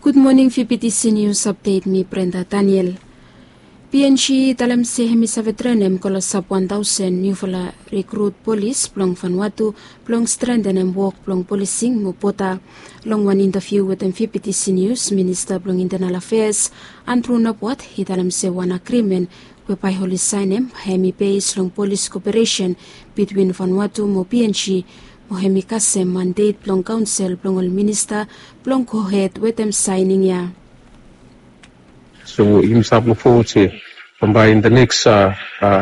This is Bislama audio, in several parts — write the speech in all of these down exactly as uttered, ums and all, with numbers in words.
Gud moning, fifti sinius apdet, mi Brenda Daniel. Png i talem se hem i save trenem klosap wan taosen niufala rikrut polis blong Vanuatu blong strentenem wok blong polising mo boda. Long wan intaviu wetem fifti sinius, minista blong intenal afeas Andrew Nabwat i talem se wan agrimen we bae oli saenem hem i bes long polis koperesen bitwin Vanuatu mo Png, mo hem i kasem mandet blong kaonsel blong ol minista blong gohed wetem saening ya. So yumi stap luk fowod se bambae in the next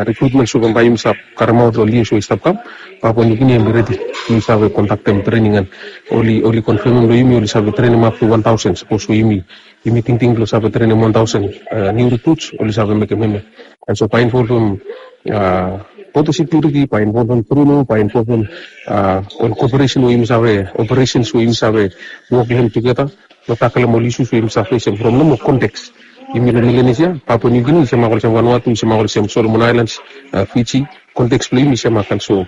rikrutmen, so bambae yumi stap karemaot long lius we i stap kam, Papua New Guinea hem i redi. Yumi save kondaktem trening an oli oli konfemem long yumi oli save trenem ap tu wan taosen. Sapos we yumi yumi tingting blong save trenem wan taosen niu rikruts, oli save mekem hemia. An so bae involvem boda sekiuriti, bae involvem bruno, bae involvem ol koperesen we yumi save, operesens we yumi save wok long hem tugeta blong takelem ol isus we yumi save fesem from nomo konteks. Yumi long Melanesia, Papua New Guinea i semak olsem Vanuatu, i semak olsem Solomon Aelans, Fiji. Konteks blong yumi i semak. An so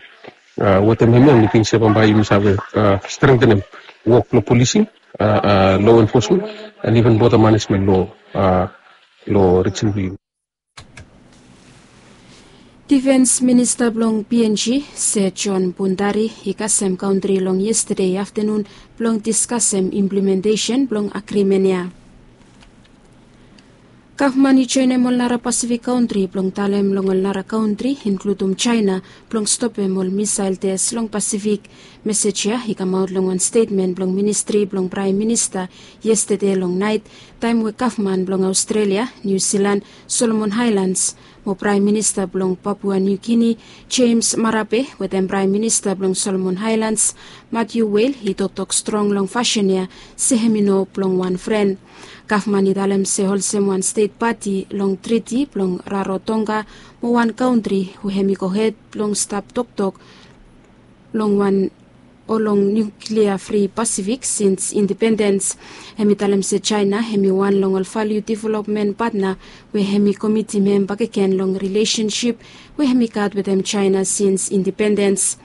wetem hemia mi ting se bambae yumi save strentenem wok blong polising, lo enfosmen, an iven boda manesmen lo lo rijin blong yumi. Difens minista blong Png, Sir John Bundari, i kasem kantri long yestade aftanun blong diskasem implementesen blong agrimen ya. Gavman i joenem ol nara Pasifik kantri blong talem long ol nara kantri, inkludum Jaena, blong stopem ol misael tes long Pasifik. Mesej ya i kamaot long wan stetmen blong ministri blong Praem Minista yestade long naet, taem we gavman blong Aostrelia, Niu Silan, Solomon Aelans mo Praem Minista blong Papua Niu Gini, Jems Marape, wetem Praem Minista blong Solomon Aelans, Matiu Wel, i toktok strong long fasin ya se hem i no blong wan fren. Gavman i talem se olsem wan stet pati long triti blong Rarotonga mo wan kantri we hem i gohed blong stap toktok long wan o long niuklia fri Pasifik sins indipendens. Hem i talem se Jaena hem i wan long ol valiu developmen patna we hem i komitim hem bakegen long rilesensip we hem i gat wetem Jaena sins indipendens.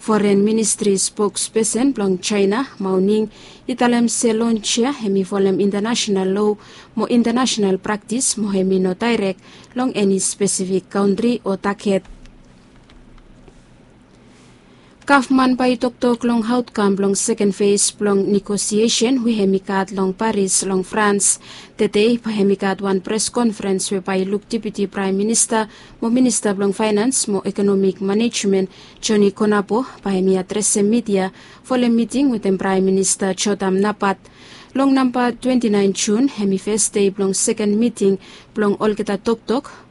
Foren ministri spokspesen blong Jaena, Mao Ning, i talem se lons ya hem i folem intanasenal loa mo intanasenal praktis mo hem i no daerek long eni spesifik kantri o taget. Gavman bae i toktok long aotkam blong seken fes blong negosiesen we hem i gat long Paris long Frans. Tede bae hem i gat wan pres konferens we bae i luk Deputi Praem Minista mo Minista blong Faenans mo Ekonomik Manejmen, Joni Konapo, bae hem i adresem midia folem miting wetem Praem Minista Jotam Napat. Long namba twenti naen Jun hem i fes dei blong seken miting blong olgeta toktok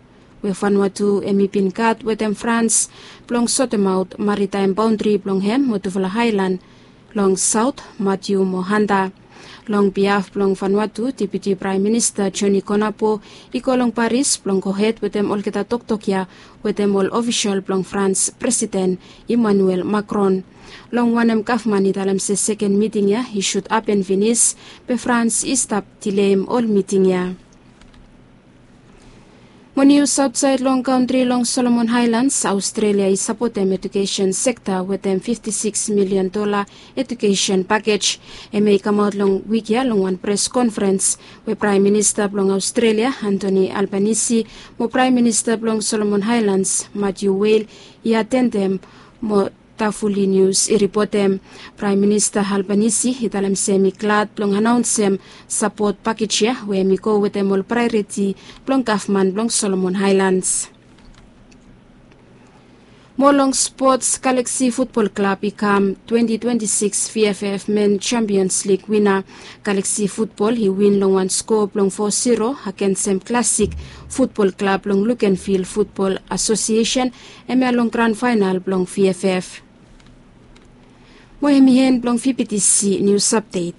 we Vanuatu hem i bin gat wetem Frans blong sotemaot maritaem baondri blong hem mo tufala aelan long saot, Matiu mo Hanta. Long biaf blong Vanuatu, Deputi Praem Minista Joni Konapo i go long Paris blong gohed wetem olgeta toktok ya wetem ol ofisol blong Frans presiden Emmanuel Macron. Long wanem gavman i talem se seken miting ya i sud hapen finis, be Frans i stap dileim ol miting ya. Mo nius aotsaed long kantri, long Solomon Aelans, Aostrelia i sapotem ejukesen sekta wetem fifti sikis milian dola ejukesen pakej. Hemia i kamaot long wik ya long wan pres konferens we Praem Minista blong Aostrelia, Anthony Albanese, mo Praem Minista blong Solomon Aelans, Matiu Wel, i atendem mo Tafuli Nius i ripotem. Praem Minista Albanese i talem se hem i glad blong anaonsem sapot pakej ya we hem i go wetem ol praeoriti blong gavman blong Solomon Aelans. Mo long spots, Galaksi futbol klab i kam twenti twenti sikis VFF Men Champions League wina. Galaksi futbol i win long wan skoa blong fo siro agensem Klasik futbol klab long Lukenvil Futbol Asosiesen, hemia long gran faenal blong VFF. Mo hem i en blong VBTC nius apdet.